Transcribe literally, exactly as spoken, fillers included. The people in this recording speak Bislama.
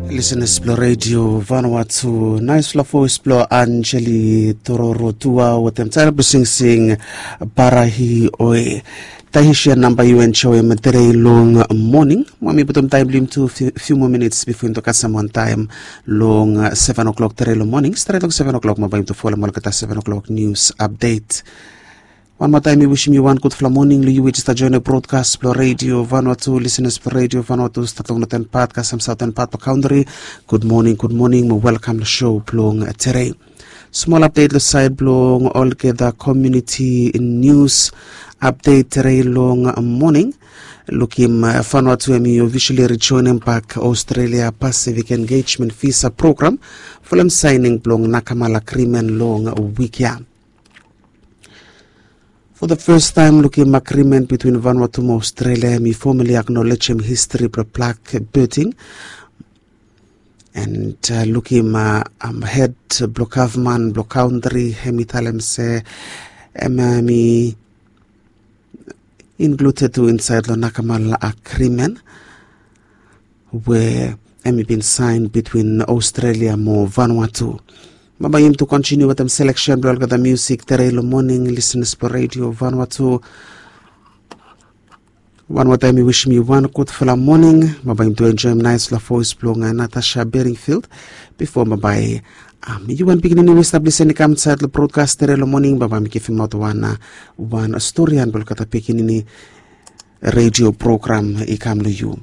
Lisenas blong redio Vanuatu, naesfala voes blong Anjeli Tororo Tua wetem tael blong singsing Barahi Oe. Taihisia namba yu enjoem terei long moning. Mo mi putum taem blong yum tu fiu moa minits bifo yum tu kasem wan taem long seven o'clock terei long moning. Stret long seven o'clock mo bae yum tu folem olgeta seven o'clock nius apdet. Wan moa taem mi wisim yu wan gudfala moning long yu we i jes stap joenem brodkas blong redio Vanuatu. Lisenas blong redio Vanuatu stap long noten pat kasem saoten pat blong kantri. Gud moning, gud moning mo welkam long sou blong terei. Smol apdet long saed blong olgeta komiuniti nius apdet terei long moning. Lukim Vanuatu hem i ofisali rijoenem bak Australia Pacific Engagement Visa Program folem saening blong nakamal agrimen long wik ya. Fo the fes taem lukim agrimen bitwin Vanuatu mo Australia hem i fomali aknolejem histri blong blak beting. And lukim hed blong gavman blong kantri hem i talem se hem i inkludet tu insaed long nakamal agrimen we hem i bin saen bitwin Australia mo Vanuatu. Bambae yum tu kontiniu wetem seleksen blong olgeta miusik terei long moning, lisenas blong redio Vanuatu. Wan moa taem mi wisim yu wan gudfala moning. Bambae yum tu enjoem naesfala voes blong Natasha Beringfield. Bifo bambae yu wan pikinini we i stap lisen i kam insaed long brodkas terei long moning, bambae mi givimaot wan wan storian blong olgeta pikinini redio program i kam long yu.